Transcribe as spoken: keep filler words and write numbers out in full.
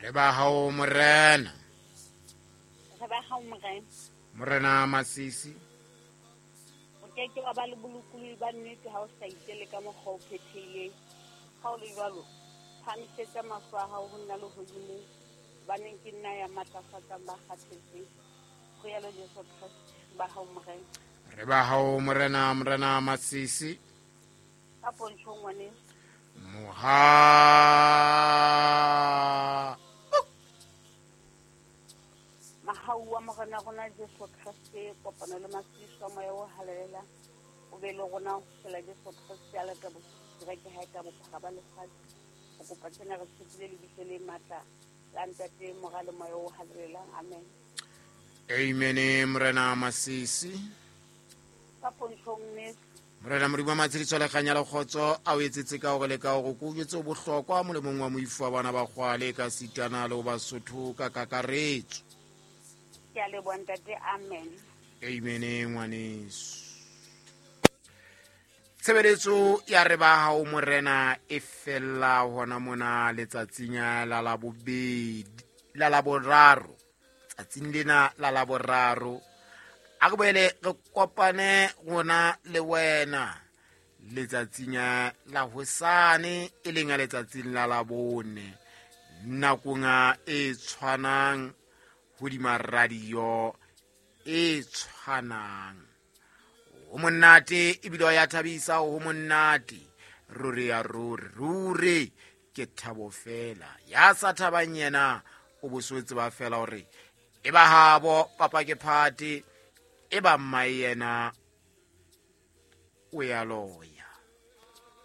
Re ba hao morena. Re ba hao morena. Morena Masisi. O ke ke wa ba le bolokolohi ba nnete ha o sa itele ka mokgwa o phethehileng. Ha o le jwalo, phahamisetsa mahlo a hao ho nna lehodimong, hobaneng ke nna ya matlafatsang ba kgathetseng. Ho yalo Jesu Kreste, ba hao morena. Re ba hao morena, morena Masisi. Ka pontsho ngwaneso. Moha. Mahau wa morena rona Jesu Kreste, kopano le matshediso a moya o halalelang, o be le rona ho fihlela Jesu Kreste a lata kereke ha e ka bophara ba lefatshe. Ho kopa tsena re tshepile lebitso le matla la Ntate, Mora le Moya o Halalelang. Amen. Amen. Morena Masisi. Ka pontshong neso. Morena Modimo wa matshediso le kganya le kgotso a o etsetse ka hore le ka hore ko jwetse bohlokwa molemong wa moifo wa bana ba kgwale ka sitana le ho Basotho ka kakaretso. Ke a leboha ntate. Amen. Amen ngwaneso. Tshebeletso ya re ba hao morena e fella hona mona letsatsing la labobedi la laboraro, tsatsing lena la laboraro. A re boele re kopane rona le wena letsatsing la hosane, e leng letsatsing la labone, nakong e tshwanang hodima radio e tshwanang. Ho monate ebile ya thabisa, ho monate ruri ya ruri ruri ke thabo fela. Ya sa thabang yena o boswetse ba fela hore e ba habo papa ke phate, e ba mmae yena o ya loya.